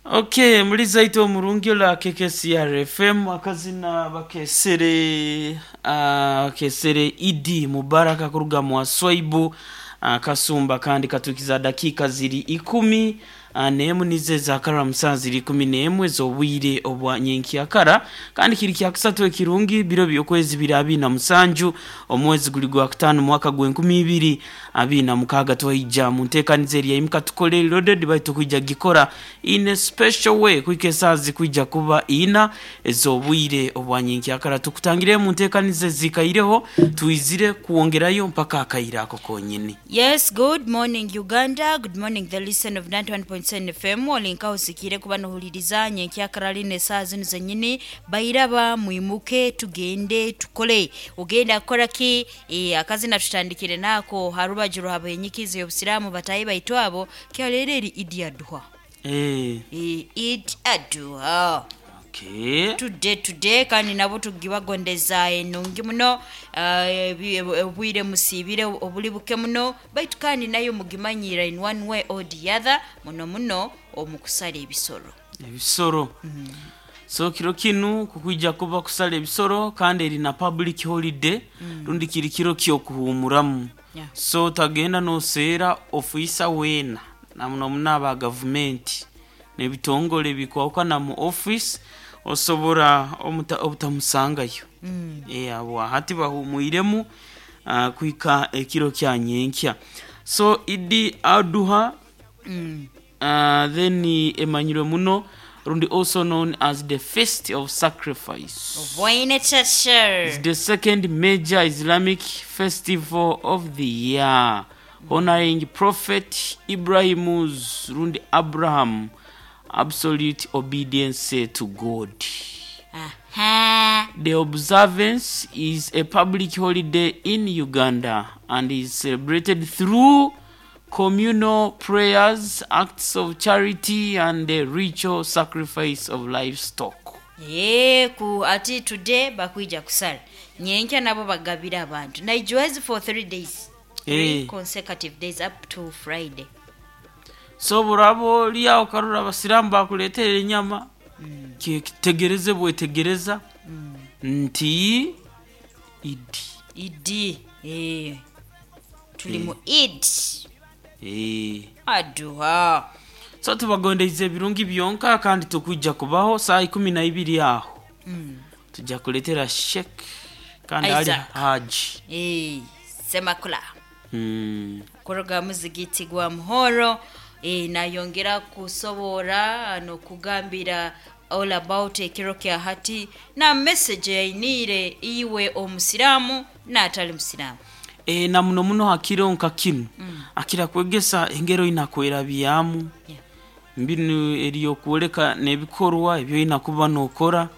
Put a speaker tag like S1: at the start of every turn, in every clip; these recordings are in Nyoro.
S1: Okay, muliza itwe omurungi ola KKCR FM akazina bakesere bakesere Idi Mubaraka kuruga mu Swaibu kasumba kandi katukiza dakika ziri 10 nemu nize zakara musaa ziri 11 z'obwire obwa nyenkyakara kandi kiri kya kusatu ekirungi biro by'okwezi biri 27 omwezi guli gwa kutaano mwaka gw'enkumi ibiri abiri na mukaaga. Twaija mu nteekaniza eri yaimuka tukole loaded baitu kwija gikora in a special way kwika esaaha zikwija kuba ina ez'obwire obwa nyenkyakara. Tukutangire mu nteekaniza ezikaireho, twizire kwongerayo mpaka akaire ako konyini.
S2: Yes, good morning Uganda. Good morning the listen of 91.7 FM. Olinkaho sikire kuba nohuliriza nyenkyakara line saa zino zenyini bairaba mwimuke tugende tukole. Ugenda kukora ki? Akazina tutandikire nako harubaju rwabenyikizi y'obusiramu batayi baitu abo kyalero eri Idi Adha. Eid Adha.
S1: Okay.
S2: Today kandi nabo tugibagondeza enungi muno, obwire musibire obuli buke muno baitu kandi nayo mugimanyira in one way or the other muno muno omukusala ebisoro.
S1: Ebisoro. So kiro kinu kukwija kuba kusala ebisoro kandi eri na public holiday, rundi kiri kiro ky'okuhumuramu. So tagenda noseera ofiisa weena na muno muno aba gavumenti n'ebitongole bikwahukana mu office osobora obutamusangayo. Abo hati bahumwiremu kuhika ekiro kya nyenkya. So Idi Adha then emanyirwe muno rundi also known as the Feast of Sacrifice.
S2: Obwaine chachar.
S1: It's the second major Islamic festival of the year, honoring Prophet Ibrahim's rundi Abraham absolute obedience to God. The observance is a public holiday in Uganda and is celebrated through communal prayers, acts of charity, and the ritual sacrifice of livestock.
S2: Ku ati today bakwija kusala nyenkya nabo bagabira abantu naijuwezi for 3 days. 3 consecutive days up to Friday.
S1: So burabo oliawo okarora abasiramu bakuleetera enyama, kitegereze bwetegereza nti Idi.
S2: Idi. Tuli mu Eid. Adha.
S1: So tubagondeize ebirungi byonka kandi tukwijja kubaho saa 12 aho. Tujja kuleetera Sheikh kandi ali
S2: Isaac.
S1: Haji.
S2: Semakula. Kuruga muzigiti gwa Muhoro, nayongera kusobora nokugambira all about ekiro kya hati na message yainire iwe omusiramu n'atali musiramu.
S1: Na muno muno hakiro nka kinu akira kwegesa engero inakwerabyamu mbinu eriyokwoleka n'ebikorwa ebyo inakuba nokora,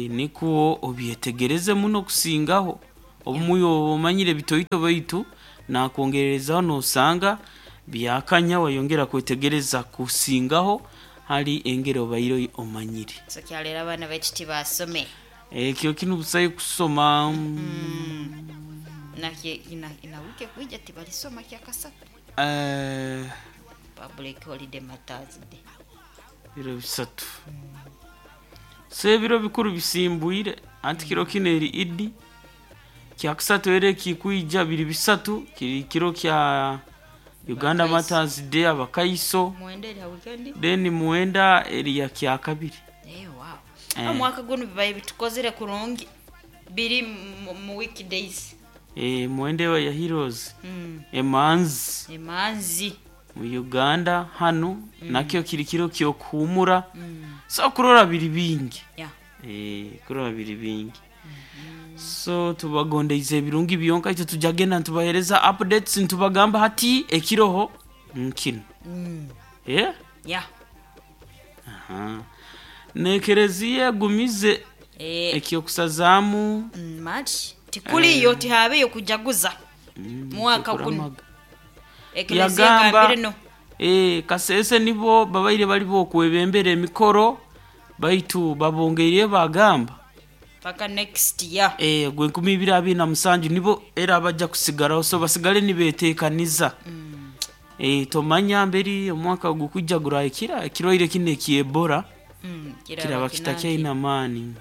S1: nikwo obyetegereze muno kusingaho obumuyo omanyire bitoito baitu nakwongererezaho nosanga byakanya wayongera kwetegereza kusingaho hali engero bairo omanyire.
S2: So kyalera abaana baitu tibasome.
S1: Ekyo kinu busayo kusoma.
S2: Inawike kuija tibalisoma kyakasatu. Public holiday Matters Day.
S1: Biro bisatu. So ebiro bikuru bisimbwire anti kiro kino eri Idi kyakusatu era kikuija biri bisatu kiri kiro kya Uganda Matters Day abakaiso.
S2: Muwenda eri ha weekend.
S1: Then muwenda eri ya kyakabiri.
S2: Wow. Omwaka guno bibaye bitukozere kurungi biri mu weekdays.
S1: Muwenda ya Heroes. Emanzi.
S2: Emanzi.
S1: Mu Uganda hano nakyo kiri kiro kyokuhumura. So kurora biri bingi. Kurora biri bingi. So tubagondeize ebirungi byonka itwe tujagenda ntubahereza updates ntubagamba hati ekiroho nkino. Nekereziye gumize ekyokusazaamu.
S2: March tikuliyo tihabeyo kujaguza mwaka guno. Ekereziya gambire no.
S1: Kasese nibo babaire bali bokwebembera emikoro baitu babongeire bagamba
S2: paka next year.
S1: Gwe 2027 nibo era abajja kusigalaho, so basigale nibeteekaniza. Tomanya mberi omwaka gukujja gurahikira ekirwaire kinu ekyebora kiraba kitakyaine amaani.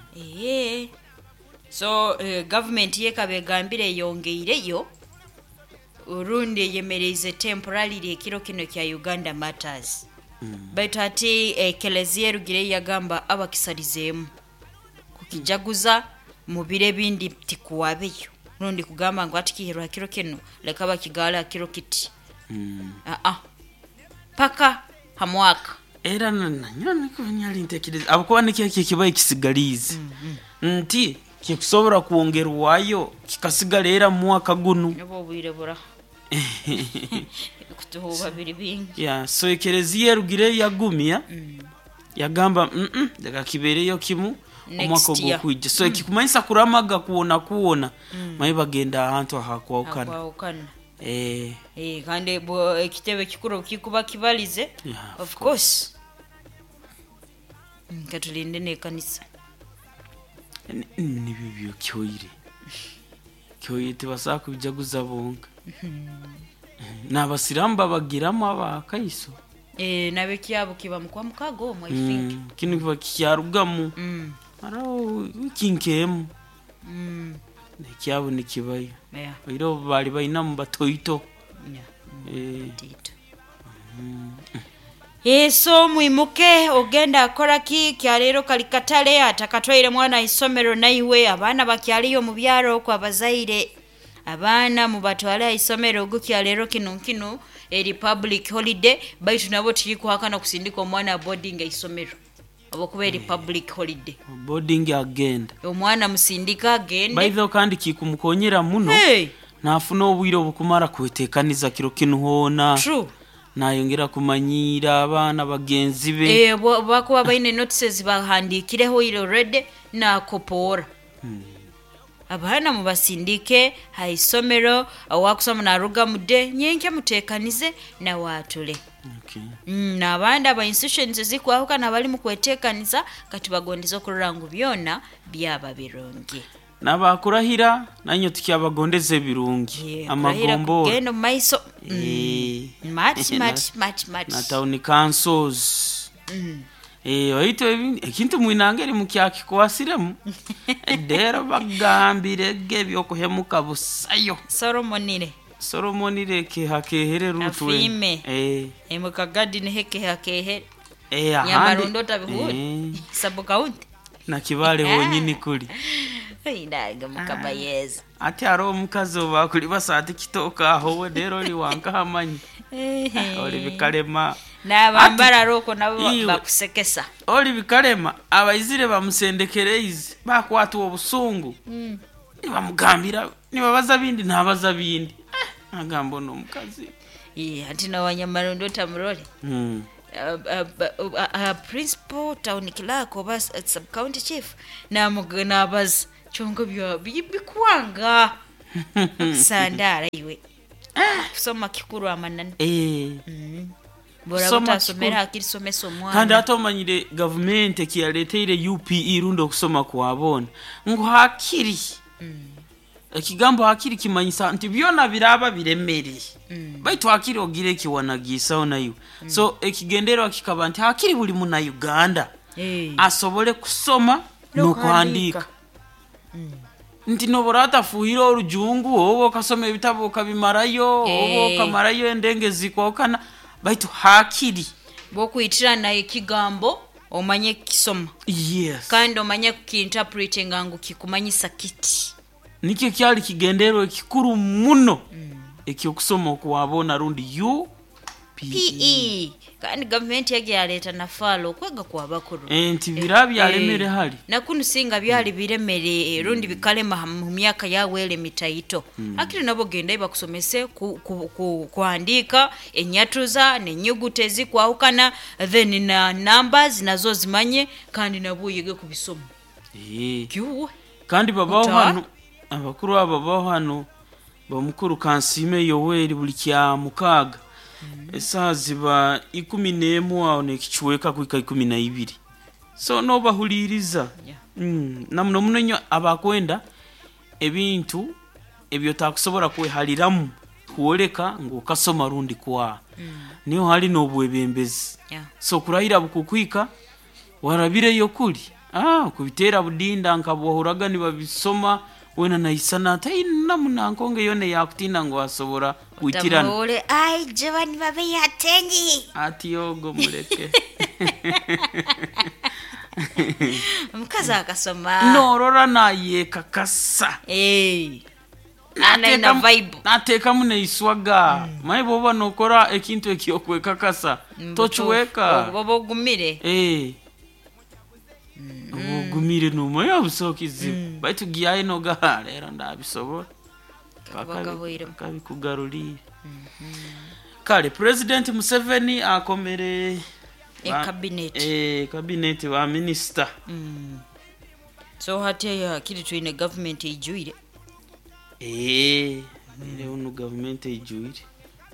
S2: So gavumenti yekaba egambire eyongeireyo orundi eyemereize temporarily ekiro kino kya Uganda Matters. Baitu hati ekelezia erugire yagamba abakisalizeemu kukijaguza mu biro ebindi tikuwabeyo, rundi kugamba ngu hati kihirwe ha kiro kinu leka bakigaale ha kiro kiti. Paka ha mwaka.
S1: Era nanyowe nikwo nyali ntekereza habwokuba nikyo ekibaye kisigaliize nti kikusobora kwongerwayo kikasigara era mu mwaka gunu.
S2: Nibwo obwire buraha kutuhuuba biri bingi.
S1: Yeah, so ekereziya erugire yagumya yagamba leka kibeereyo kimu omwaka
S2: Next year.
S1: ogukwija. So ekikumanyisa kuramaga kwona kwona maye bagenda ahantu ahakwahukana.
S2: Hakwahukana. Kandi ekitebe kikuru kikuba kibalize.
S1: Yeah,
S2: of course. Katulinde n'ekanisa.
S1: Nibyo byo kyoire. Kyoire tibasobola kubijaguza bonka. N'abasiraamu babagiramu abakaiso.
S2: Nabekyabo kiba mukwa mukago omwo, I think.
S1: Kinu kiba kikyarugamu. Haraho wiki nk'emu. Ekyabo nikibayo. Oire obu baali bainamu batoito.
S2: Tito. So mwimuke ogenda akora ki kyaleero kali katale atakatwaire mwana isomero naiwe abaana bakyaliyo mu byaro okwo abazaire abaana mubatwale aisomero ogu kyaleero kinu kinu eri public holiday baitu nabo tikikuhakana kusindika omwana boarding aisomero obokuba eri public holiday.
S1: Boarding agenda.
S2: Omwana musindika agende.
S1: Baitho kandi kikumukonyera muno.
S2: Hey.
S1: Nafuna obwire obukumara kwetekaniza kiro kinu hoona.
S2: True.
S1: Nayongera kumanyiira abaana bagenzi be.
S2: Bakuba baine notices bahandikireho ile already nakopoora. Abaana mubasindike haisomero awakusoma naruga mude nyenke mutekanize nawaatule.
S1: Okay.
S2: N'abandi aba institutions ezikwahuka bali mu kwetekaniza kati bagondeza okurora ngu byona byaba birungi.
S1: N'abakurahira nanyo tukyabagondeza ebirungi. Amagombora.
S2: Kugenda omu maiso. Much, much, much, much.
S1: Na town councils. Oitu ekintu mwinange eri mukyakikwasiremu. Dero bagambire ge ebyokuhemuka busayo.
S2: Solomonire.
S1: Solomonire kehakehere rutwe.
S2: Afime. Emukagadi niheke hakehere.
S1: Ahandi.
S2: Nyamarundo tabihuri. Sub county.
S1: Na kibale honyini kuli.
S2: Indaga mukama yeza.
S1: Ati hariho omukazi obakuli basaati kitooka aho we rero oli wankahamanyi. Oli bikalema.
S2: N'abambara roko nabo bakusekesa.
S1: Oli bikalema abaizire bamusendekereize bakwatwa obusungu. Nibamugambira nibabaza bindi nabaza bindi. Agamba ono omukazi.
S2: Ati na wanyamarundo tamurole. Principal town clerk oba sub county chief nabaza kyonka bikwanga sandara iwe. Kusoma kikuru amanani. Bora butasomera hakiri somesa omwana.
S1: Kandi ate omanyire gavumenti ekiyaleteire UPE rundi okusoma kwabona ngu hakiri. Ekigambo hakiri kimanyisa nti byona biraba biremere. Baitu hakiri ogire ekiwanagiisaho naiwe. So ekigendererwa kikaba nti hakiri buli muna Uganda asobole kusoma n'okuhandiika. Nti nobora atafuhire orujungu oba okasoma ebitabo okabimarayo oba okamarayo endenge zikwahukana baitu hakiri
S2: bwokwitirana ekigambo omanye kisoma.
S1: Yes.
S2: Kandi omanye kukiinterpretinga ngu kikumanyisa kiti.
S1: Nikyo kyali kigendererwa ekikuru muno ekyokusoma okwabona rundi UPE.
S2: Kandi gavumenti yagi yaleeta nafaalo okwega kwabakuru.
S1: Nti bira byalemere hali.
S2: Nakunu singa byali biremere rundi bikalema mu myaka yawele mitaito. Akiri nabo genda bakusomese kuandika enyatuza nenyuguta ezikwahukana then na numbers nazo zimanye kandi nabo yige kubisoma. Kyuwe.
S1: Kandi babaho hano abakuru aba babaho hano bamukuru Kansime Yoweri buli kya mukaaga. Esaha ziba 11 aho nekichweka kuika 12. So nobahuliriza. Na muno muno nnyo abakwenda ebintu ebyo takusobola kwehaliramu. Kwoleka ngu okasoma rundi kwa niho hali n'obwebembezi. So kurahira bukukwika warabireyo kuli kubitera budinda nkabwahuraga nibabisoma wena naisana taina munankonge yona yakutinda ngu asobora kwitirana.
S2: Otamuhule ai Giovanni babe yatengi.
S1: Ati yogo muleke.
S2: Omukazi akasoma.
S1: Norora nayekakasa.
S2: Ana ina vibe.
S1: Nateekamu neiswaga maye bwoba nokora ekintu ekyokwekakasa tokiweka.
S2: Oba ogumire.
S1: Oba ogumire nomanya busaho kizibu, baitu giyayo nogaha rero ndabisobora.
S2: Kakuba gahweiremu.
S1: Kabikugaruriire. Kale President Museveni akomere
S2: Cabinet.
S1: Cabinet ba minisita.
S2: So hati hakiri twine government eijwire.
S1: Ere onu gavumenti eijwire.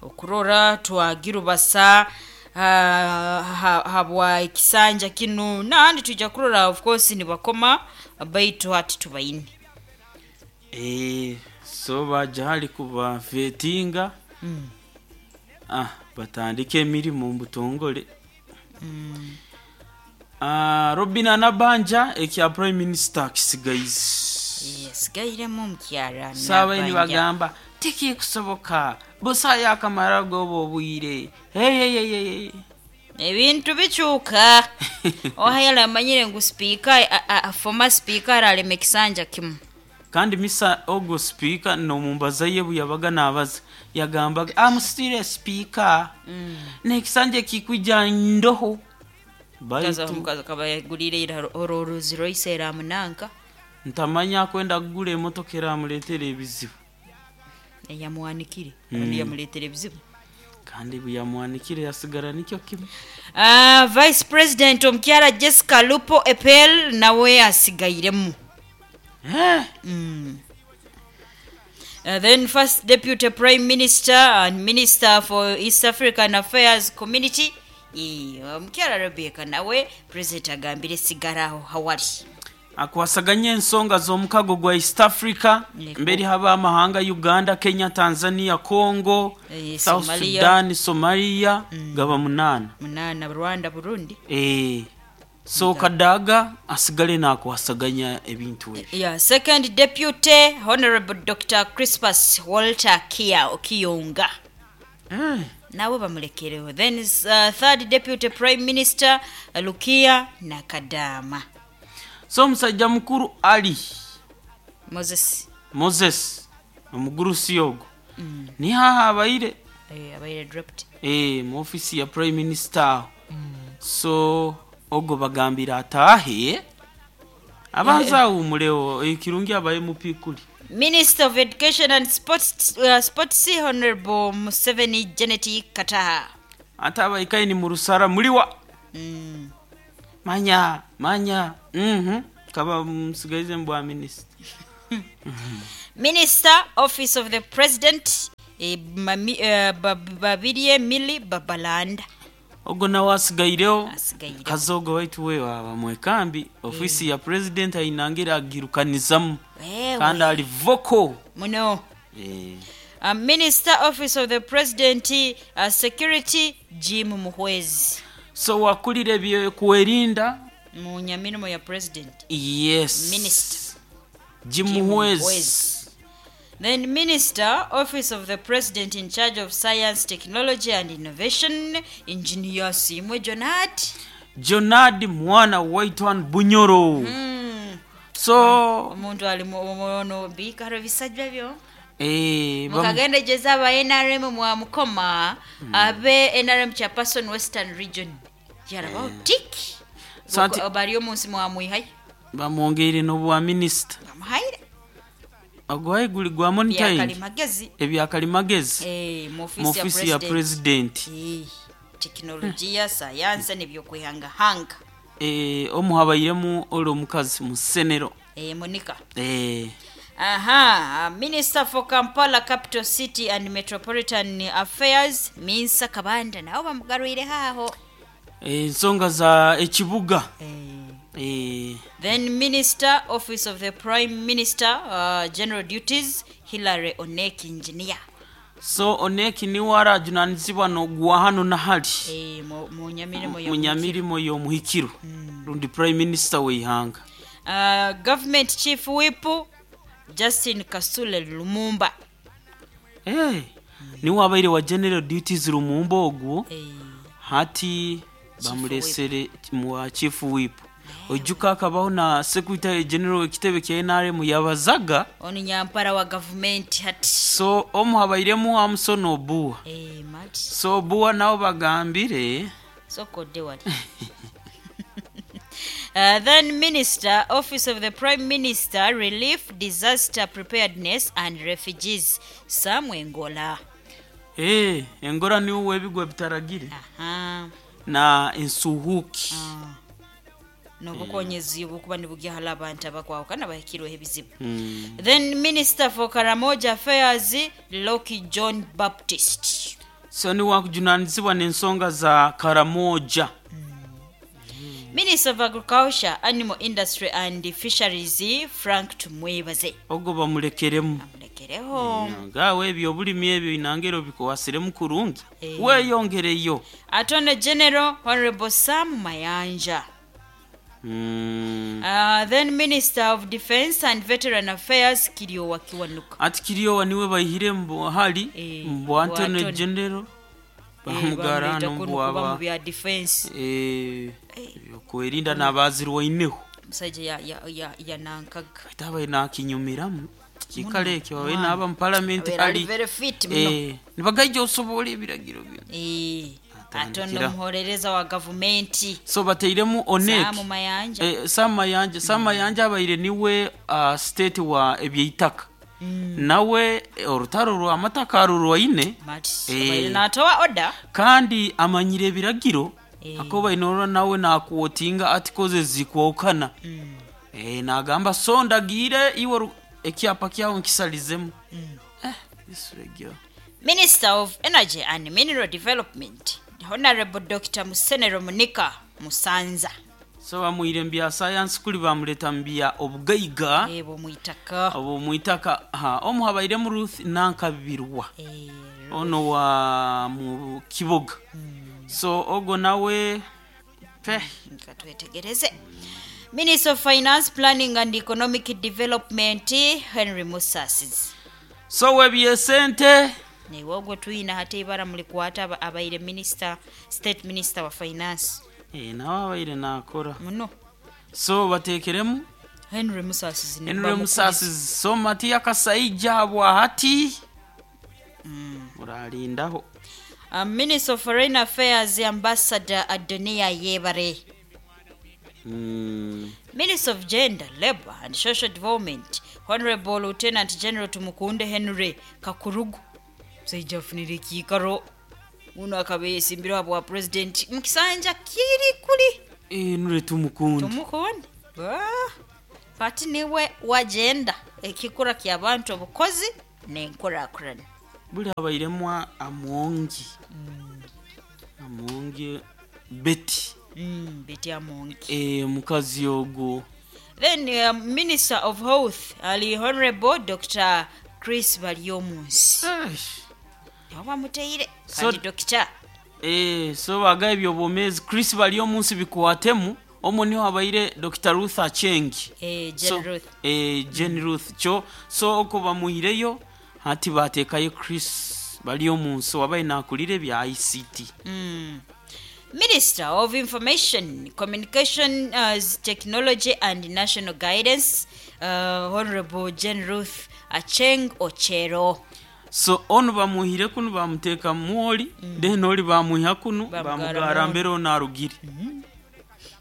S2: Okurora twagirubasa habwa ekisanja kinu nandi twija kurora of course nibakoma baitu hati tubaine.
S1: So baja hali kubavetinga. Batandike emirimu omu butongole. Robina Nabanja ekya prime minister kisigaize.
S2: Yasigairemu omukyara.
S1: Saabaini
S2: Nabanja.
S1: bagamba tikikusoboka busa yakamara goba obwire. Hey.
S2: Ebintu bikyuka. Ohayala amanyire ngu speaker former speaker aralema ekisanja kimu.
S1: Kandi misa ogo speaker nomumbaza ye buyabaga nabaza yagambaga amusitire speaker nekisanja kikwija ndoho.
S2: Kaza
S1: Baitu
S2: omukazi akaba yagulire ira oruzi roise eramunanka.
S1: Ntamanya kwenda kugula emotoka eramuletera ebizibu.
S2: Yamuwanikire. Yamuletera ebizibu.
S1: Kandi buyamuwanikire yasigara nikyo kimu.
S2: Vice President omukyara Jessica Lupo Epel nawe asigairemu. Then First Deputy Prime Minister and Minister for East African Affairs Community omukyara Rebecca nawe President agambire sigaraho hawali.
S1: Akwasaganya ensonga z'omukago gwa East Africa.
S2: Yego.
S1: Mberi haba amahanga Uganda, Kenya, Tanzania, Congo, South
S2: Somalia.
S1: Sudan, Somalia, gaba 8.
S2: 8 Rwanda, Burundi.
S1: So Kadaga asigale nakwasaganya ebintu ebyo.
S2: Second Deputy Honorable Dr. Crispus Walter Kia Okiyonga. Nawe bamulekereho. Then Third Deputy Prime Minister Lukia Nakadama.
S1: So omusajja mukuru Ali
S2: Moses.
S1: Moses omugurusi ogwo. Ni haha abaire.
S2: Abaire dropped.
S1: Mu office ya Prime Minister. So ogwo bagambira ataahe abanza awumulewo ekirungi abaye mupikuli.
S2: Minister of Education and Sports Honorable Museveni Janet Kataha.
S1: Ate abaikaye ni mu rusara muliwa. Manya manya. Kaba musigaize mbwa minister.
S2: Minister Office of the President Babirye Milly Babalanda.
S1: Ogwo nawe asigaireho.
S2: Asigaireho.
S1: Kazogo waitu we waba mwekambi ofisi ya president ainangira agirukanizamu. Kandi ali vocal.
S2: Muno. Minister Office of the President Security Jim Muhwezi.
S1: So wakulire ebyokwerinda
S2: mu nyamirimo ya president.
S1: Yes.
S2: Minister.
S1: Jim
S2: Jim
S1: Muhwezi.
S2: Muhwezi. Then Minister Office of the President in charge of Science, Technology and Innovation, Engineer Simwe Jonard.
S1: Jonard mwana Waitwan Bunyoro. So
S2: omuntu ali mu bikaro bisajja byo. Mukagenda jeza aba NRM mwa mukoma abe NRM chairperson Western Region. Yarabaho tik.
S1: So anti-
S2: Bari omunsi mwa muihai.
S1: Bamwongeire n'obwa minister.
S2: Bamuhaire.
S1: Ogwaye guli gwa monitoring.
S2: Byakalimagezi.
S1: Ebyakalimagezi.
S2: Mu
S1: Mu
S2: ofisi ya
S1: ofisi ya
S2: president.
S1: president.
S2: Teknologiya, sayansi n'ebyokwihangahanga.
S1: Omuhabairemu oli omukazi mu ssenero.
S2: Monica. Aha, Minister for Kampala Capital City and Metropolitan Affairs, Minsa Kabanda, nabo bamugarwire haho.
S1: Ensonga za ekibuga.
S2: Then Minister, Office of the Prime Minister, General Duties, Hilary Onek Engineer.
S1: So Onek niwe arajunanizibwa nogwa hano nahali.
S2: Munyamirimo.
S1: Munyamirimo y'omuhikiro rundi prime minister w'eihanga.
S2: Government chief whip Justin Kasule Lumumba.
S1: Hey, niwe abaire wa general duties Lumumba ogwo. Hati bamulesere mu chief whip. Ojuka akabaho na secretary general w'ekitebe kya NRM yabazaga.
S2: Onu nyampara wa government hati.
S1: So omu habairemu Amson Obua.
S2: Mati.
S1: So Obua nabo bagambire
S2: sokodde wali. Then Minister, Office of the Prime Minister, Relief, Disaster Preparedness and Refugees, Sam Engola.
S1: Hey, Engola niwe w'ebigwa bitaragire.
S2: Aha.
S1: Na ensuhuki.
S2: N'obukonyezi obukuba nibugyahala abantu abakwawukana bahikirweho ebizibu. Then Minister for Karamoja Affairs, Loki John Baptist.
S1: So niwe wakujunanizibwa n'ensonga za Karamoja.
S2: Minister of Agriculture, Animal Industry and Fisheries, Frank Tumwebaze.
S1: Ogwo bamulekeremu.
S2: Amulekereho.
S1: Ngawe ebyo obulimi ebyo inangero bikuwasiremu kurungi. Weeyongereyo.
S2: Attorney General Honorable Sam Mayanja. Then Minister of Defense and Veteran Affairs, Kiryowa Kiwanuka.
S1: Ati Kiryowa niwe bahire mbu hali mbu Attorney General bamugara
S2: Bamuleta kuno
S1: no
S2: kuba mu
S1: mbu
S2: bya defense.
S1: Okwerinda n'abazirwaineho.
S2: Omusajja yanankaga.
S1: Ate nakinyumiramu kikale ekyo babe n'aba mu parliament.
S2: Abeera ali
S1: Ali
S2: very fit muno.
S1: Nibagaija osobola ebiragiro bino.
S2: Ate ono
S1: Atandikira.
S2: omuhorereza wa gavumenti.
S1: So bateiremu Onek.
S2: Sam Mayanja.
S1: Sam Mayanja, Sam Mayanja abaire niwe state wa ebyeitaka. Nawe orutaro rwa amataka arurwaine.
S2: Mati abaire natowa order.
S1: Kandi amanyire ebiragiro. Akoba inorora nawe nakuwotinga articles zikwokana. Nagamba so ndagire iwe ekyapa kyawo nkisalizemu. Isuregyo.
S2: Minister of Energy and Mineral Development, Honorable Dr. Musenero Munika Musanza.
S1: So bamuire mbya science kuli bamuleta mbya obugaiga.
S2: Bomwitaka.
S1: Abo mwitaka. Ha, omu habairemu Ruth Nankabirwa. Ono wa mu Kiboga. So ogo nawe pe
S2: Katwetegereze. Minister of Finance, Planning and Economic Development, Henry Musasizi.
S1: So webyesente
S2: Newe ogwo tuyina hate ibara mulikwata abaire minister, state minister wa finance.
S1: Nawe abaire nakora.
S2: Muno.
S1: So batekeremu
S2: Henry Musasizi.
S1: Henry Musasizi. So Matia Kasaija bwa hati. Muralindaho.
S2: Minister of Foreign Affairs, Ambassador Adonia Yebare. Minister of Gender, Labor and Social Development, Honorable Lieutenant General Tumukunde Henry Kakurugu. Musajja afunire ekiikaro uno akabeesimbirwa bwa president mukisanja kiri kuli.
S1: Henry Tumukunde.
S2: Tumukunde. Pati niwe wa gender ekikura ky'abantu obukozi n'enkulaakulana.
S1: Buli abairemu Amongi. Amongi Betty.
S2: Betty Amongi.
S1: Mukazi ogwo.
S2: Then Minister of Health ali Honorable Dr. Chris Baryomunsi. Oba muteire kandi Dr.
S1: So bagaye byobomezi Chris Baryomunsi bikwatemu omo niho abaire Dr. Ruth Aceng.
S2: Jane
S1: So,
S2: Ruth.
S1: Jane Ruth cho so oko bamuhireyo hati batekayo Chris Baryomunsi wabaye nakulire bya ICT.
S2: Minister of Information, Communication, Technology and National Guidance, Honorable Jane Ruth Aceng Ochero.
S1: So ono bamuhire kuno bamuteka muoli, then oli bamuha kuno bamugara mbere onarugire.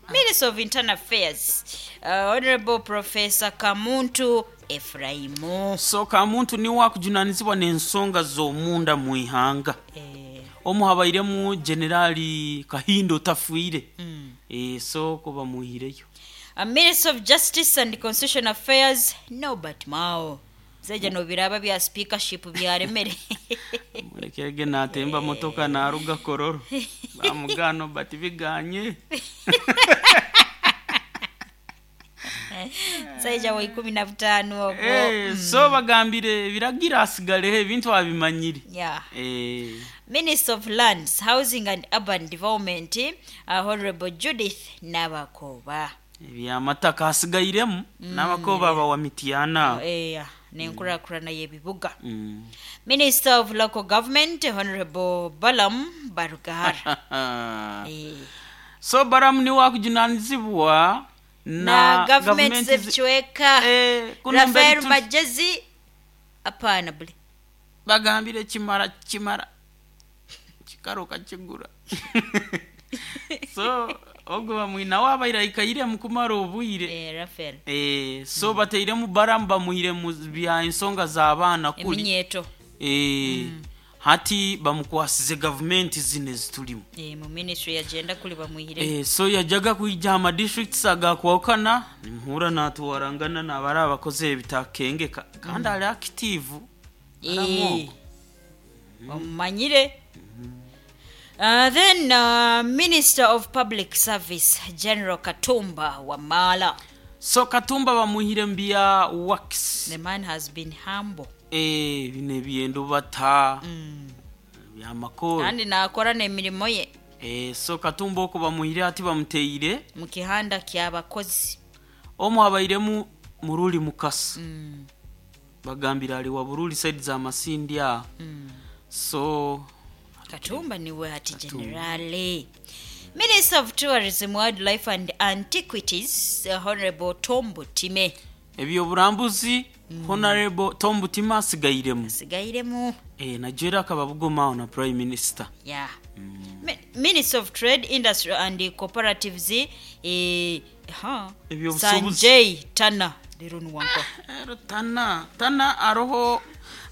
S2: Minister of Internal Affairs, Honorable Professor Kamuntu Efraimu.
S1: So Kamuntu ni wakujunanizibwa n'ensonga z'omunda mu ihanga. Omu habairemu Generali Kahindo Tafuire. So ko bamuhireyo.
S2: Minister of Justice and Constitutional Affairs, Norbert Mao. Zeja no biraba bya speakership byaremere.
S1: Murekege natemba motoka naruga kororo. Bamugano bati biganye.
S2: Musaija wa 15 ogwo.
S1: So bagambire biragira asigaleho ebintu abimanyire.
S2: Yeah. Minister of Lands, Housing and Urban Development, Honorable Judith Nabakoba.
S1: Ebyamataka asigairemu Nabakoba bawa Mityana.
S2: Nenkurakurana y'ebibuga. Minister of Local Government, Honorable Balam Barugahara.
S1: So Balamu niwe akujunanizibwa
S2: na government z'ebicweka.
S1: Kuno
S2: Rafael
S1: mberi
S2: Majezi apana bule.
S1: Bagambire kimara kimara kikaruka kigura. So ogwo bamwina wabaire aikaire mukumara obwire.
S2: Rafael.
S1: So bateiremu Balamu bamuhire mu bya ensonga z'abaana kuli.
S2: Eminyeto.
S1: Hati bamukwasize gavumenti zino ezitulimu.
S2: Mu ministry yagenda kuli bamuhire.
S1: So yajaga kwija ama districts agakwawukana nimuhura natuwarangana nabari abakozi ebitakengeka kandi ali active. Balamu.
S2: Omumanyire. Then Minister of Public Service General Katumba Wamala.
S1: So Katumba bamuhire mbya works.
S2: The man has been humble.
S1: Bino ebyendo bata byamakoro.
S2: Kandi nakora n'emirimo ye.
S1: So Katumba oko bamuhire ati bamuteire
S2: mu kihanda ky'abakozi.
S1: Omwe abairemu Muruli Mukasa. Bagambira ali wa Buruli side za Masindi aho. So
S2: Katumba niwe hati generale. Minister of Tourism, Wildlife and Antiquities, Honorable Tom Butime.
S1: Ebyoburambuzi Honorable Tom Butime asigairemu.
S2: Asigairemu.
S1: Najera akaba bugomaawo na Prime Minister.
S2: Yeah. Minister of Trade, Industry and Cooperatives,
S1: Ebyobusuubuzi.
S2: Sanjay Tana. Lero nuwanko.
S1: Ero Tana, Tana aroho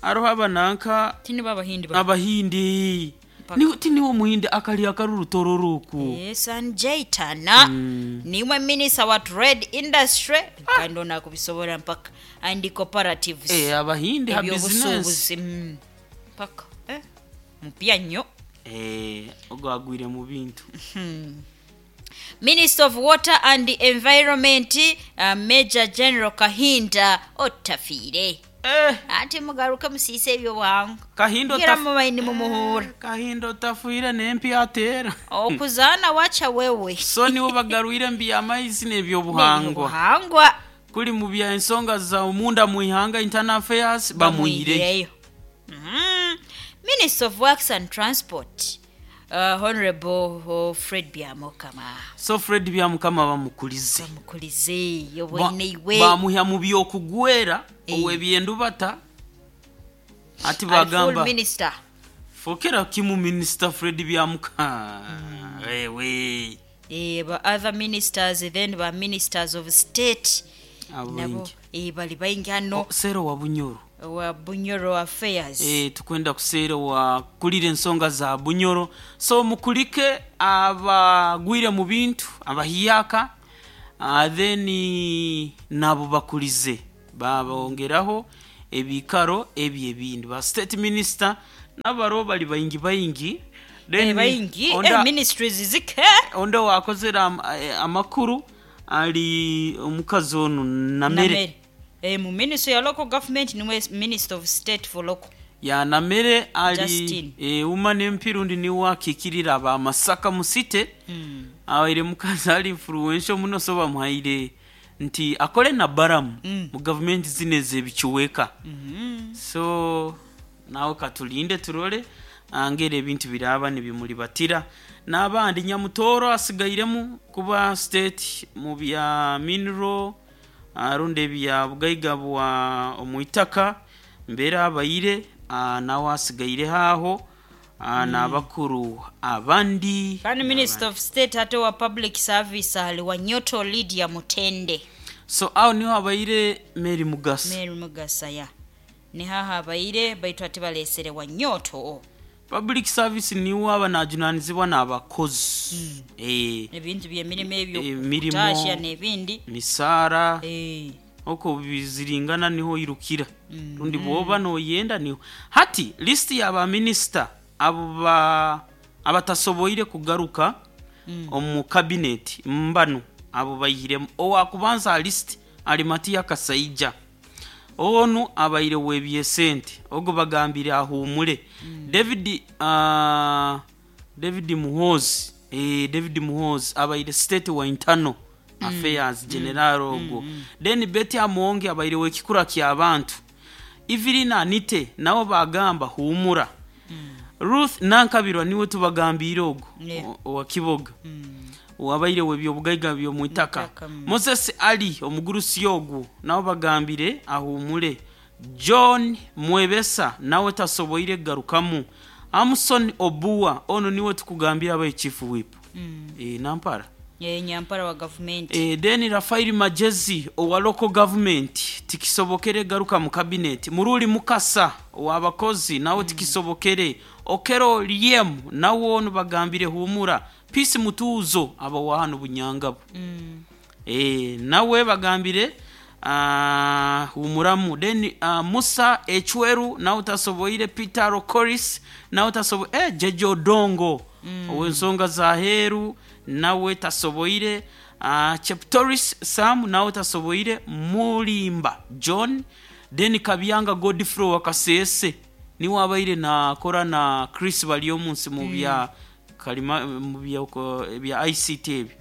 S1: aroho abananka
S2: Tini babahindi ba.
S1: Abahindi.
S2: Mpaka.
S1: Ni tini wo muhindi akali akaruru tororoku.
S2: Sanjay Tana. Niwe Minister wa Trade, Industry kandi onakubisobora mpaka and Cooperatives.
S1: Abahindi ha business.
S2: Ebyobusuubuzi. Mpaka mupya nnyo.
S1: Ogwo agwire mu bintu.
S2: Minister of Water and Environment, Major General Kahinda Otafiire. Ate mugaruke musiise ebyobuhangwa.
S1: Kahinda
S2: Ngira mubaini mumuhura.
S1: Kahinda Otafiire n'empi ateera.
S2: Okuzaana wacha wewe.
S1: So niwo bagarwire mbi amaizi n'ebyobuhangwa.
S2: N'ebyobuhangwa.
S1: Kuli mu bya ensonga za omunda mu ihanga internal affairs bamuhireyo.
S2: Bamuhireyo. Minister of Works and Transport, Honorable Fred Byamukama.
S1: So Fred Byamukama bamukulize.
S2: Bamukulize yobweneiwe.
S1: Bamuhya mu byokugwera ow'ebyendubata. Ati
S2: Ali full
S1: bagamba
S2: minister.
S1: Fokera kimu Minister Fred Byamukama. Wewe.
S2: Ba other ministers then ba ministers of state.
S1: Abo
S2: Nabo,
S1: baingi.
S2: bali baingi hano.
S1: Oh, Sero wa Bunyoro.
S2: Wa Bunyoro affairs.
S1: Tukwenda kusero wa kulira ensonga za Bunyoro. So mukulike abagwire mu bintu abahiyaka, then nabo bakulize babongeraho ebikaro ebyo ebindi ba state minister nabaro bali baingi baingi. Then
S2: Baingi, ministries zike.
S1: Onda wakozera amakuru ali omukazi ono Namere.
S2: Namere. Mu ministry ya local government niwe minister of state for local.
S1: Ya Namere ali
S2: Justin.
S1: Uma n'empirundi niwe akikirira aba Masaka musite. Abaire mukazi ali influential muno so bamuhaire nti akole na Balamu mu government zino ez'ebikiweka. So nawe katulinde turole angera ebintu biraba nibimulibatira. N'abandi Nyamutoro asigairemu kuba state mu bya mineral aronda ebya bugaiga bwa omwitaka mbeera abaire, nawe asigaire haho, n'abakuru abandi.
S2: Kandi Minister of State ate wa Public Service ali Wanyoto Lydia Mutende.
S1: So aho niho abaire Mary Mugasa.
S2: Mary Mugasa ya. Ni haha abaire baitu ate balesere Wanyoto.
S1: Public service niwo aba najunanizibwa n'abakozi.
S2: Ebintu by'emirimu ebyo
S1: Emirimo.
S2: kutashya n'ebindi.
S1: Misaara. Oko biziringana niho irukira. Rundi bwoba noyenda niho. Hati list y'aba minister abo abatasoboire kugaruka omu cabinet mbano abo bayihiremu owakubanza list Arimatiya Kasaija onu abaire webyesente ogo bagambire ahumule. David David Muhozi, David Muhozi abaire state wa internal affairs general ogwo. Then Betty Amonge abaire wekikura ky'abantu. Evelyn Anite nabo bagamba humura. Ruth Nankabirwa niwe tubagambire ogwo, owa Kiboga, wabaire webyobugaiga by'omwitaka.
S2: Mwitaka.
S1: Moses Ali omugurusi ogwo nabo bagambire ahumule. John Mwebesa nawe tasoboire kugarukamu. Amson Obua ono niwe tukugambira abaye chief whip, nampara.
S2: Nyampara wa gavumenti.
S1: Then Rafael Majezi owa local government tikisobokere garuka mu cabinet. Muruli Mukasa owabakozi nawe tikisobokere. Okero Liem nawe ono bagambire humura. Peace Mutuuzo aba wa hano Bunyangabo, nawe bagambire humuramu. Then Musa Echweru nawe tasoboire. Peter Rokoris nawe tasoboire. Jeje Odongo ow'ensonga za heru nawe tasoboire. Cheptoris Sam nawe tasoboire. Mulimba John, then Kabyanga Godfrey wa Kasese niwe abaire nakora na Chris Baryomunsi mu bya kalima, mu bya bya ICT ebyo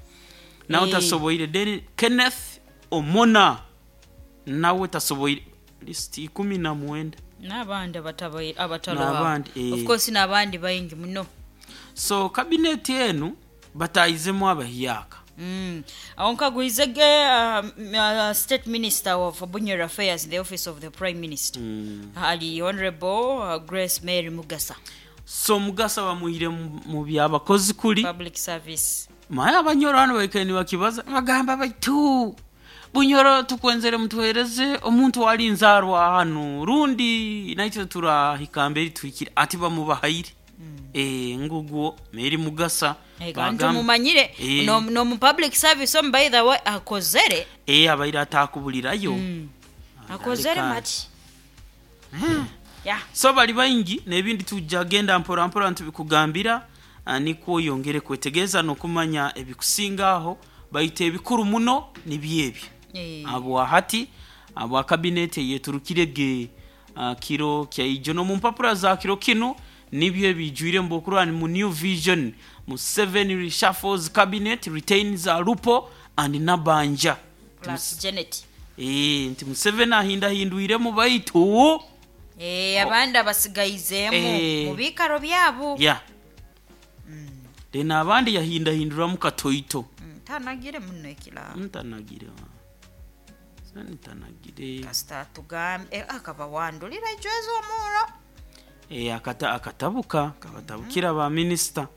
S1: nawe tasoboire. Then Kenneth Omona nawe tasoboire. List 19.
S2: N'abandi
S1: N'abandi,
S2: abataloba. Of course n'abandi baingi muno.
S1: So kabineti enu batayizemu abahyaka.
S2: Aho nkagwizege state minister of Bunyoro affairs in the office of the prime minister, ali Honorable Grace Mary Mugasa.
S1: So Mugasa bamuhire mu byabakozi kuli
S2: public service.
S1: Maye abanyoro hano baikaire nibakibaza bagamba baitu Bunyoro tukwenzere mutuhereze omuntu wali nzarwa hano rundi naitwe turahika mbere tuhikire ati bamubahaire, ngugwo Mary Mugasa.
S2: Kandi tumumanyire no mu public service omu, by the way akozere.
S1: Abaire atakubulirayo.
S2: Akozere mati ya.
S1: So bali baingi n'ebindi tujja genda mpora mpora ntubikugambira, nikwo oyongere kwetegereza n'okumanya ebikusinga aho, baita ebikuru muno nibyebyo. Abo ahati abo kabineti yeturukire ge kiro kyaijo no mu mpapura za kiro kino nibyo ebijwire mbokurwa mu New Vision mu 7 reshuffles cabinet retains Alupo and Nabanja.
S2: Plus Janet.
S1: Nti Museveni ahindahindwiremu baitu
S2: abandi abasigayizeemu mu biikaro byabo.
S1: Ya, then abandi yahindahinduramu katoito.
S2: Tanagire muno ekirabo.
S1: Ntanagire ntanagire.
S2: Kasita tugambe akabawandulira ejweza omuro.
S1: Akatabuka kabatabukira ba minisita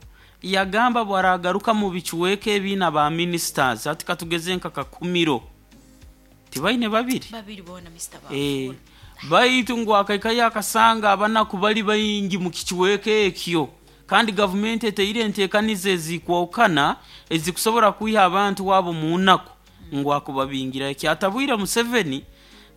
S1: yagamba bwaragaruka mu bicuweka ebiina ba ministers ati katugeze nka kakumiro tibaine babiri.
S2: Babiri bona Mr.
S1: Baitu ngu akaikayo akasanga abanaku bali baingi mu kicuweka ekyo kandi gavumenti eteire enteekaniza ezikwawukana ezikusobola kwiha abantu wabo mu nnaku ngu akubabingira ekyatabwire Museveni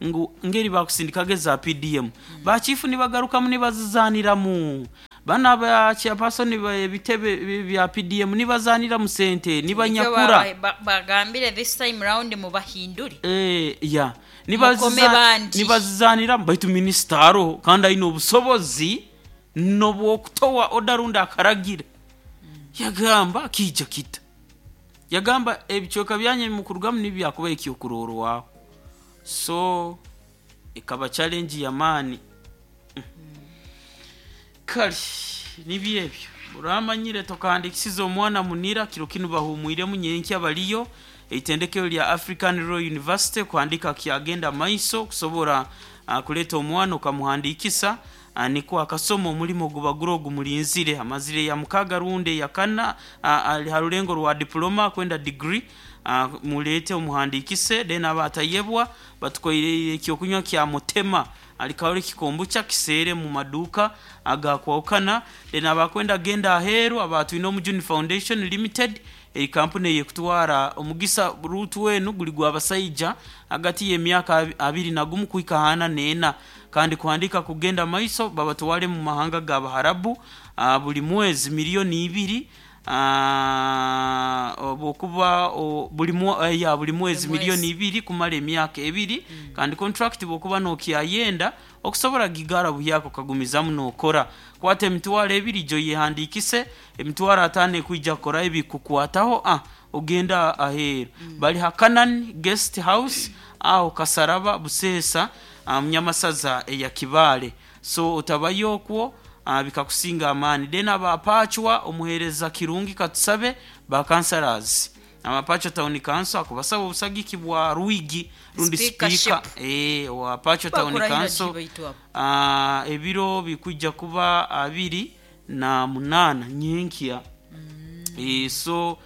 S1: ngu ngeri bakusindikaga eza PDM bachifu nibagarukamu nibazizaniramu bana ba chairperson ebitebe bya PDM nibazanira mu sente nibanyakura.
S2: Bagambire this time round mubahindure.
S1: Ya.
S2: Mukome bandi.
S1: Nibazizanira baitu minisita aroho kandi aine obusobozi nobwokutowa oda rundi akaragira yagamba akija kita yagamba ebicweka byanye mukurugamu nibyakuba ekyokurorwaho so ekaba challenge yamaani. Kale nibyo ebyo uramanyire tokahandikisiza omwana munira kiro kinu bahumwiremu nyenkya baliyo eitendekero lya African Royal University kuhandika kyagenda maiso kusobora kuleta omwana okamuhandikisa, niko akasoma omulimo gubagura ogumulinzire amazire ya mukaga runde ya kana, ali harulengo rwa diploma kwenda degree, mulete omuhandikise. Then abatayebwa batukoire ekyokunywa kya mutema alikawole kikombucha kiseere mu maduka agakwawukana. Then abakwenda genda aheeru abatwine Omujuni Foundation Limited ekampuni eyekutwara omugisa rutu wenu guli gwa basaija hagati y'emyaka 21 kuhika 44 kandi kuhandika kugenda maiso babatwale mu mahanga ga Baharabu, buli mwezi 2 miliyoni. Bwokuba buli ya buli mwezi
S2: Buli
S1: miliyoni
S2: mwezi.
S1: 2 kumara emyaka 2, kandi contract bwokuba nokyayenda okusobola gigara buhyako kagumizamu nokora. Kwata 20,000 jo yehandikise, 50,000 ekwija kukora ebikukwataho, ogenda aheeru. Bali ha Canaan Guest House aho Kasaraba Buseesa, Munyamasaza eya Kibaale. So otabayo okwo, bikakusinga amaani. Then abapachwa omuheereza Kirungi Katusabe ba councillors Amapachwa Town Council akubasaba obusagiki bwa Rwigi rundi
S2: Speakership.
S1: speaker wa Pachwa Town
S2: Bakurahira
S1: Council.
S2: Baitu abo.
S1: Ebiro bikwijja kuba 28 nyenkya. So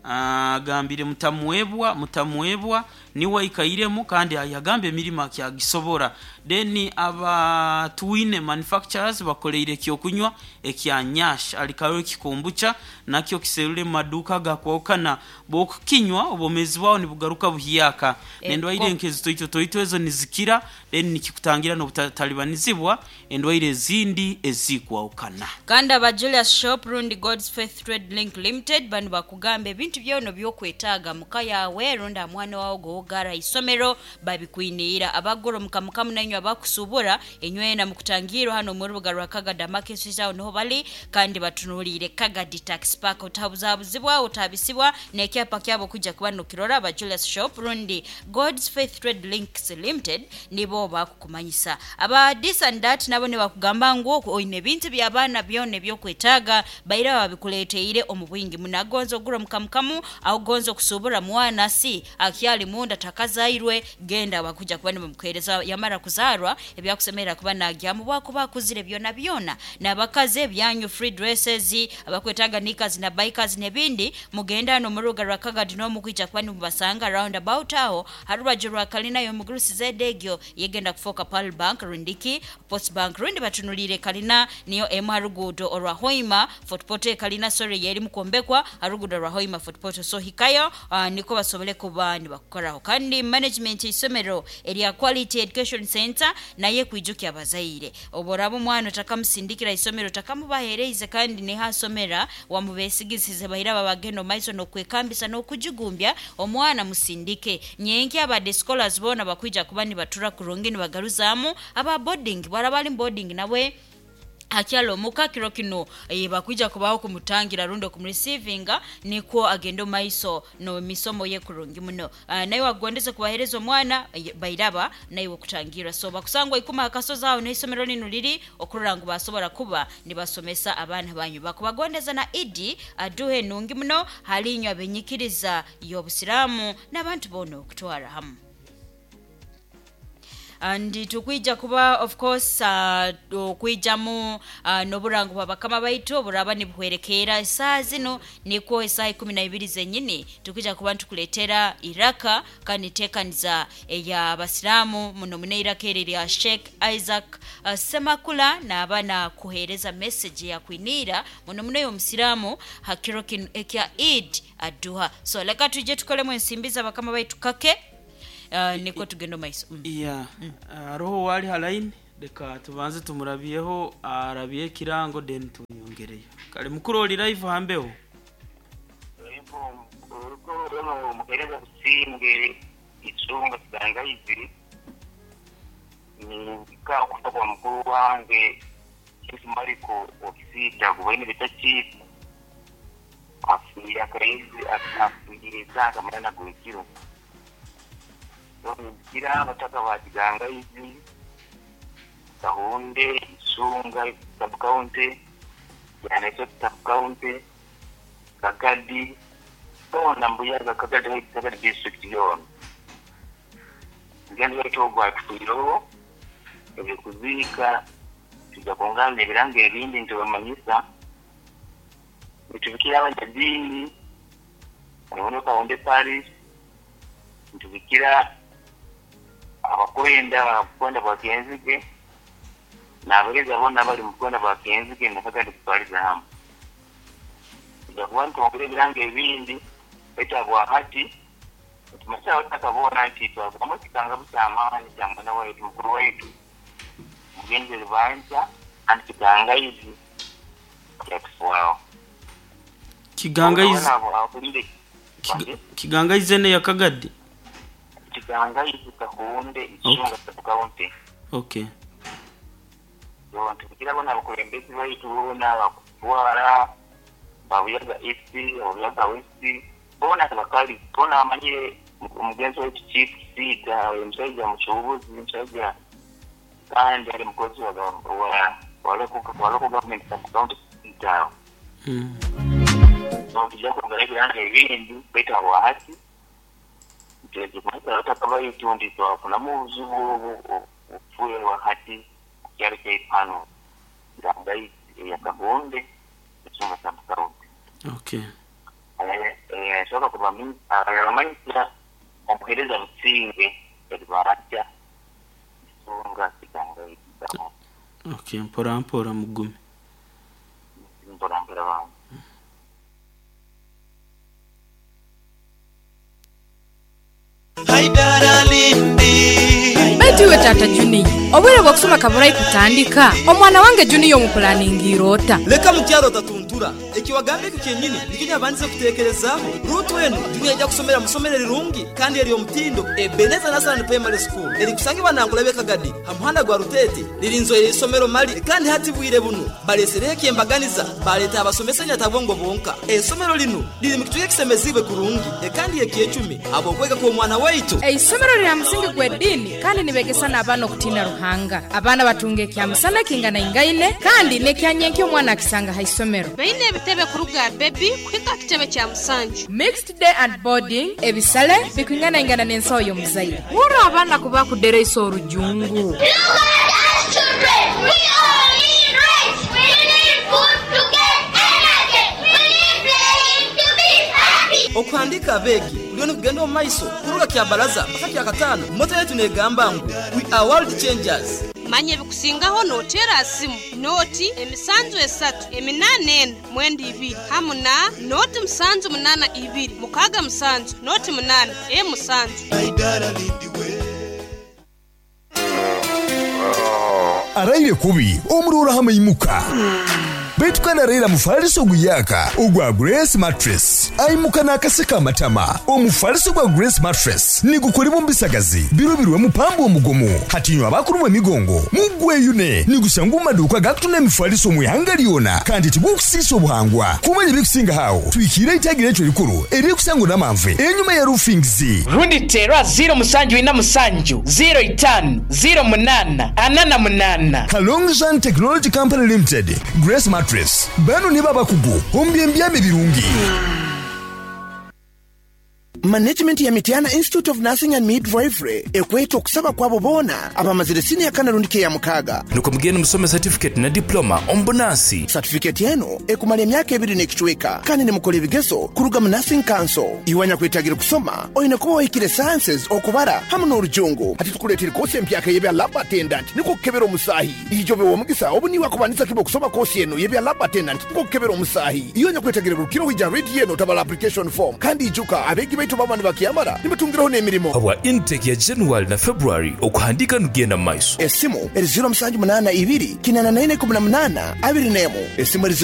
S1: agambire mutamwebwa, mutamwebwa niwe aikairemu, kandi yagambye emirimo akyagisobora. Then aba Twine Manufacturers bakoleire ekyokunywa ekya Nyash alikayo ekikombucha, nakyo kiserule mu maduuka gakwawukana. Bwokukinywa obwomezi bwawe nibugaruka buhyaka, nendwaire nk'ezitoito toito ezo nizikira, then nikikutangira n'obutatalibanizibwa endwaire ezindi ezikwawukana.
S2: Kandi aba Julius Shop rundi God's Faith Trade Link Limited bano bakugamba ebintu byona byokwetaaga muka yawe rundi amwana wawe gowogara isomero babikwiniira. Abagura omukamukamu nainywe abakusubura enywena mukutangirwa hano mu rubuga rwa Kagadi Market aho niho bali, kandi batunuliire Kagadi Tax Park. Otabuzabuzibwa, otabisibwa n'ekyapa kyabo kujja kuba nokirora. Aba Julius Shop rundi God's Faith Trade Links Limited nibo bakukumanyisa. Aba this and that nabo nibakugamba ngu oine ebintu by'abaana byona ebyokwetaaga baira babikuleeteire omu bwingi. Munagonza ogura omukamukamu aho gonza okusubura mwana si akyali munda takazairwe, genda bakuja kuba nibamukuhereza yamara kuzarwa ebyakusemerera kuba nagyamu bwakuba akuzire byona byona. N'abakazi ebyanyu free dresses, abakwetaaga knickers na bikers n'ebindi, mugenda hano mu rubuga rwa Kagadi n'omukwija kuba nimubasanga round about aho harubaju rwa kalina y'omugurusi zedegyo yegenda kufoka Pearl Bank rundiki Post Bank rundi batunulire kalina niyo emu harugudo orwa Hoima Fort Portal kalina sorry yeri mukombekwa harugudo rwa Hoima Fort Portal. So hikayo, niko basobole kuba nibakukoraho. Kandi management isomero erya Quality Education Center naye kwijukya abazaire, oboraba omwana otakamusindikira isomero takamubahereize kandi nihasomera wamubesigisize bahira babagenda omaiso n'okwekambisa n'okujugumbya omwana musindike. Nyenki abade scholars bona bakwija kuba nibatura kurungi nibagaruzamu aba boarding barabali boarding nawe akyalo omuka kiro kino, bakwija kubaho kumutangira rundi okumurecevinga nikwo agenda omaiso no misomo ye kurungi muno. Naye wagondeze kubahereza omwana, bairaba naye okutangira. So bakusangwa ikuma akasozi aho n'isomero lino liri okurora ngu basobora kuba nibasomesa abaana banyu. Bakubagondeza na Idi aduhe nungi muno halinywa abenyikiriza y'obusiraamu n'abantu boona okutwara hamu. And tukwija kuba of course, okwijamu n'oburango bwa bakama baitu oburaba nibuhwerekeera esaaha zino nikwo esaaha 12 zenyini tukwija kuba nitukuleetera iraka kandi nteekaniza ey'abasiraamu muno muno iraka eri rya Sheikh Isaac Semakula naaba nakuheereza message yakwiniira muno muno ey'omusiraamu ha kiro kino ekya Eid Aduha. So leka tuje tukolemu ensimbi z'abakama baitu kake, niko tugenda omaiso.
S1: Yeah. Haroho wali ha line, reka tubanze tumurabyeho arabye ekirango then tumwongereyo. Kale mukuru oli live hambeho.
S3: Urugo muhereza businge Isunga Kigangaizi, nibika okufa kwa mukuru wange Chief Mariko Okisita gubaine bita chief afiire akaizi afiire esaaga 8 gw'ekiro. So nibikira abataka ba Kigangaizi, Kahunde, Isunga sub county, Kyaneso sub county, Kagadi boona Mbuyaga, Kagadi, Kagadi district yoona. Mugenzi waitu ogwo atufiireho, ebyokuziika tujja kungana ebirango ebindi nitubamanyisa. Nitubikira abanyadiini hariho Kahunde Parish, nitubikira abakwenda abakwenda bwa Kenzige n'abahereza boona abari mu bukwenda bwa Kenzige na Kagadi kutwariza hamwe. Tujja kuba nitwongera ebirango ebindi baitu habwa hati tumanyisa abataka boona nti twavugamu ekikangabu ky'amaani kya mwana waitu mukuru waitu mugenzi Rubanja kandi Kigangaizi kyatufuaho.
S1: Kigangaizi.
S3: Abo ahulire.
S1: Kigangaize ne yakagadi.
S3: Kigangaize Kahunde Ichunga sub-county.
S1: Okay.
S3: So ntukugira bona abakulembeze baitu bona bakutwara babuyaga East, babuyaga West, bona bakali bona amanyire omugenzi waitu Chief Siga, omusajja muchubuzi, omusajja kandi ali mukozi wa local government sub-county Siga. So tujja kwongera ebiranga ebindi baitu habwahati ntakabayitu nti twafunamu obuzibu obufuerwa hati kukyalo kyaipano Kigangaize eya Kahunde Ichunga sub-county.
S1: Okay.
S3: Soka kubamanyisira omuhereza Businge eribaratya Ichunga Kigangaize.
S1: Okay, mpora mpora mugume.
S3: Mpora mpora bangu.
S4: Baitu iwe tata Junior, obwire bw'okusoma kaburai kutandika, omwana wange Junior omupulaningira ota.
S5: Leka mukyalo tatuntura, ekiwagambe ekyo kyennyini nikyo nyabandize kuteekerezaaho. Ruutu enu Junior ajja kusomera musomero rirungi kandi eri omutindo Ebeneza National Primary School erikusangibwa Nangulabye Kagadi ha muhanda gwa Rutete lirinzoire isomero mali kandi hati bwire buno balesereho ekyembaganiza baleeta abasomesa nyatabongo bonka. Esomero lino liri mu kituuka ekisemezibwe kurungi kandi ekyecumi ab'okwega kw'omwana waitu.
S4: Eisomero lya musingi gw'eddiini kandi nibegesa n'abaana okutiina Ruhanga. Abaana batunga ekyamusana kinganaingaine kandi n'ekyanyenkya omwana akisanga ha isomero.
S6: Baine ebitebe kuruga bebi kuhika kitebe kya musanju.
S4: Mixed day and boarding ebisale bikwinganaingana n'ensawo y'omuzaire. Wura abaana kuba kudereisa orujungu.
S7: Look at us children, we all need rice. We need food to get energy. We need playing to be happy.
S5: Okuhandika abeegi kuliyo nikugenda omu maiso kuruga kya baraza mpaka kya kataano. Moto yetu negamba ngu we are world changers.
S6: Manya ebikusingaho noteera simu noti 7 3 8 4 9 2 hamu na noti 7 8 2 6 7 noti 8 7.
S8: Araire kubi omurora hamaimuka. Baitu kandi araira mufaliso guyaka ogwa Grace Mattress. Aimuka n'akaseka amatama. Omufaliso gwa Grace Mattress nigukolebwa omu bisagazi birobirwe mupambo omugomo. Hatinywa abakuru emigongo mugweyune nigusanga mu maduuka gakutunda emifaliso mu ihanga lyona kandi tigukusiisa obuhangwa. Kumanya ebikusinga hawo twikire itagira ekyo rikuru erikusangwa n'amanve enyuma ya roofings.
S9: Rundi terwa 0 7 4 7 05 08 48.
S8: Kalongzan Technology Company Limited, Grace Mattress. Bano nibo abakugu omu byembyame birungi.
S10: Management ya Mitiana Institute of Nursing and Midwifery ekweta okusaba kwabo boona abamazire siniya kana rundi ya mukaaga.
S11: Nuko mugende musome certificate na diploma omu bunansi.
S10: Certificate eno ekumala emyaka ebiri n'ekicweka kandi nimukola ebigezo kuruga mu Nursing Council. Iwanya kwetagira kusoma oyine kuba wahikire sciences, okubara hamu n'orujungu.
S12: Ati tukuleetera kosi empyaka y'ebya lab attendant niko kukebera omusaahi. Ijobe w'omugisa obu niwe akubanisa kiba okusoma kosi eno y'ebya lab attendant niko kukebera omusaahi. Iyo nyakwetagira rukiro wija redi eno tabala application form kandi ijuka abeegi baitu baba nibakyamara nibatungiraho n'emirimo.
S11: Habwa intake ya January na February okuhandika nugenda mu maiso.
S10: Esimu eri 0782 84 18 21 esimu eri.